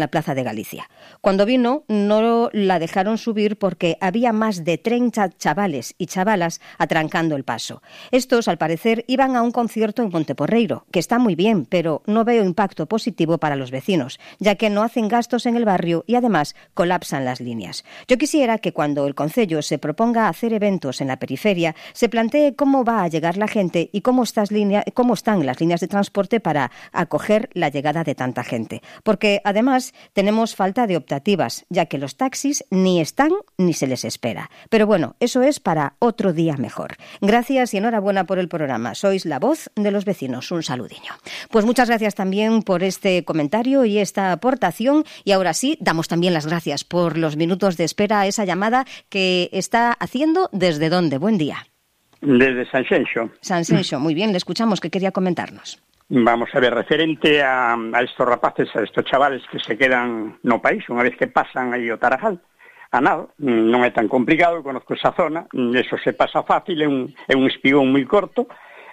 la Plaza de Galicia. Cuando vino, no la dejaron subir porque había más de 30 chavales y chavalas atrancando el paso. Estos, al parecer, iban a un concierto en Ponteporreiro, que está muy bien, pero no veo impacto positivo para los vecinos, ya que no hacen gastos en el barrio y además colapsan las líneas. Yo quisiera que cuando el concello se proponga hacer eventos en la periferia, se plantee cómo va a llegar la gente y cómo están las líneas de transporte para acoger la llegada de tanta gente. Porque, además, tenemos falta de optativas, ya que los taxis ni están ni se les espera. Pero bueno, eso es para otro día mejor. Gracias y enhorabuena por el programa. Sois la voz de los vecinos. Un saludiño. Pues muchas gracias también por este comentario y esta aportación. Y ahora sí, damos también las gracias por los minutos de espera a esa llamada que está haciendo. ¿Desde dónde? Buen día. Desde Sanxenxo. Sanxenxo, muy bien, le escuchamos. ¿Qué quería comentarnos? Vamos a ver, referente a estos rapaces, a estos chavales que se quedan no país, unha vez que pasan aí o Tarajal, a nada, non é tan complicado, conozco esa zona, eso se pasa fácil, é un espigón moi corto,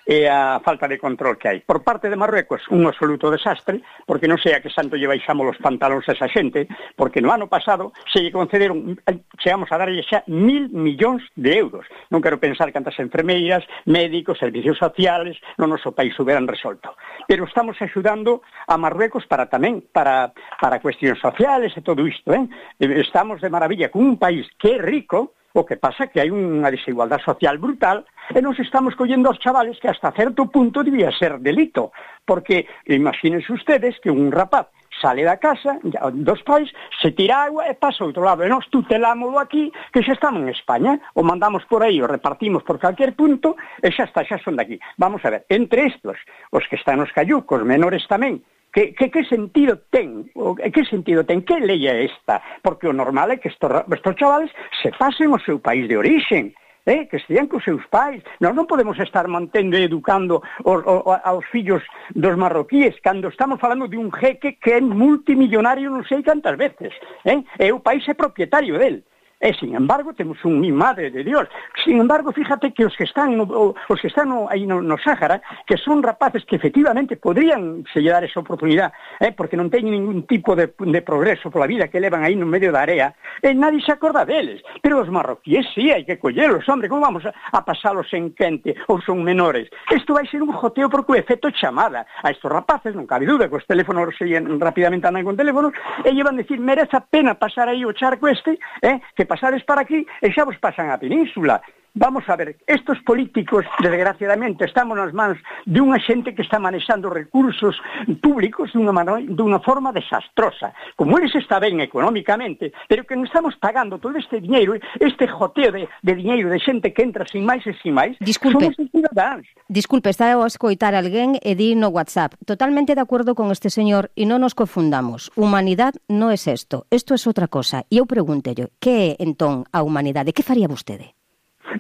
e a falta de control que hai. Por parte de Marruecos, un absoluto desastre, porque non sei a que santo lle baixamos os pantalóns a esa xente, porque no ano pasado se lle concederon, chegamos a darlle xa 1.000 millóns de euros. Non quero pensar cantas enfermeiras, médicos, servicios sociales, no noso país hubieran resolto. Pero estamos axudando a Marruecos para tamén, para cuestións sociales e todo isto, Estamos de maravilla con un país que é rico. O que pasa é que hai unha desigualdade social brutal e nos estamos collendo aos chavales que hasta certo punto debía ser delito. Porque imagínense ustedes que un rapaz sale da casa dos pais, se tira agua e pasa ao outro lado. E nós tutelámoslo aquí, que xa estamos en España, o mandamos por aí, o repartimos por calquer punto e xa está, xa son daqui. Vamos a ver, entre estos, os que están nos cayucos, menores tamén, que sentido ten? Que sentido ten? Que lei é esta? Porque o normal é que estos chavales se pasen ao seu país de orixen, que estean cos seus pais. Nós non podemos estar mantendo e educando aos fillos dos marroquíes cando estamos falando de un jeque que é multimillonario non sei cantas veces, e o país é propietario del. E, sin embargo, temos un mi madre de Dios. Sin embargo, fíjate que os que están aí no Sáhara, que son rapaces que efectivamente podrían se lle dar esa oportunidade, porque non teñen ningún tipo de progreso pola vida que levan aí no medio da area, e nadie se acorda deles. Pero os marroquíes sí, hai que collelos, hombre, como vamos a pasalos en quente ou son menores? Isto vai ser un joteo porque o efecto chamada a estos rapaces, non cabe dúda, que os teléfonos rapidamente andan con teléfonos, e llevan decir, merece a pena pasar aí o charco que pasades para aquí e xa vos pasan a península. Vamos a ver, estos políticos, desgraciadamente, estamos nas mans de unha xente que está manexando recursos públicos dunha forma desastrosa. Como eles está ben económicamente, pero que estamos pagando todo este diñeiro, este joteo de diñeiro de xente que entra sin máis e sin máis, somos os cidadáns. Disculpe, está a escoitar alguén e di no WhatsApp. Totalmente de acordo con este señor e non nos confundamos. Humanidade non é isto é outra cosa. E eu pregúntelle, que é entón a humanidade? Que faría vostede?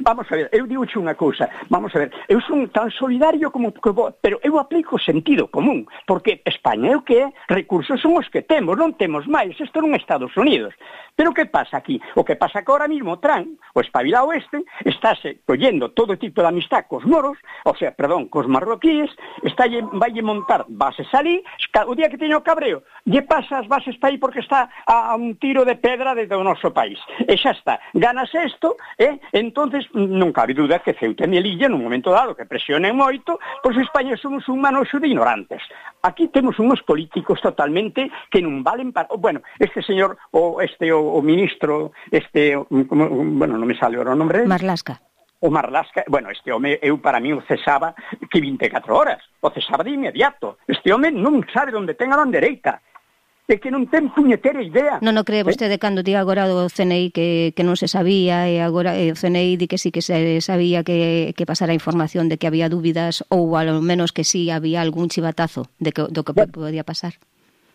Vamos a ver, eu digo unha cousa, vamos a ver, eu son tan solidario como que vos, pero eu aplico sentido común, porque España é o que é, recursos son os que temos, non temos máis, isto non é Estados Unidos. Pero que pasa aquí? O que pasa que ahora mismo Trump, o espabilado estáse collendo todo tipo de amistad cos moros, cos marroquíes, vaille montar bases ali, o día que teño cabreo, lle pasa as bases para aí porque está a un tiro de pedra desde o noso país. E xa está, ganas isto, entonces non cabe dúda que Ceuta e Melilla nun momento dado que presionen moito, pois España somos un manoxo de ignorantes. Aquí temos uns políticos totalmente que non valen para... Bueno, este señor, o ministro, non me sale o nome. Marlaska. O Marlaska, este home, para mí o cesaba que 24 horas, o cesaba de inmediato. Este home non sabe onde ten a bandereita. É que non ten puñetera idea. Non cree vostede cando diga agora o CNI que non se sabía e agora o CNI di que sí que se sabía que pasara a información de que había dúbidas ou ao menos que sí había algún chivatazo do que podía pasar?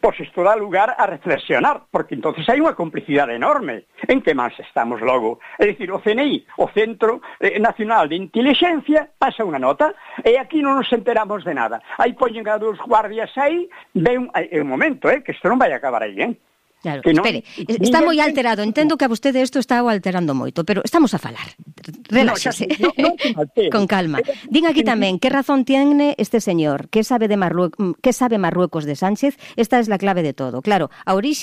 Pois isto dá lugar a reflexionar, porque entonces hai unha complicidade enorme. En que máis estamos logo? É dicir, o CNI, o Centro Nacional de Intelixencia, pasa unha nota, e aquí non nos enteramos de nada. Aí poñen a dos guardias aí, é un momento, que isto non vai acabar aí, Claro, espere, está moi alterado, entendo que a vostede isto está alterando moito, pero estamos a falar. Reláxese. Con calma. Din aquí tamén, que razón tiene este señor? Que sabe Marruecos de Sánchez? Esta es la clave de todo. Claro, a orixe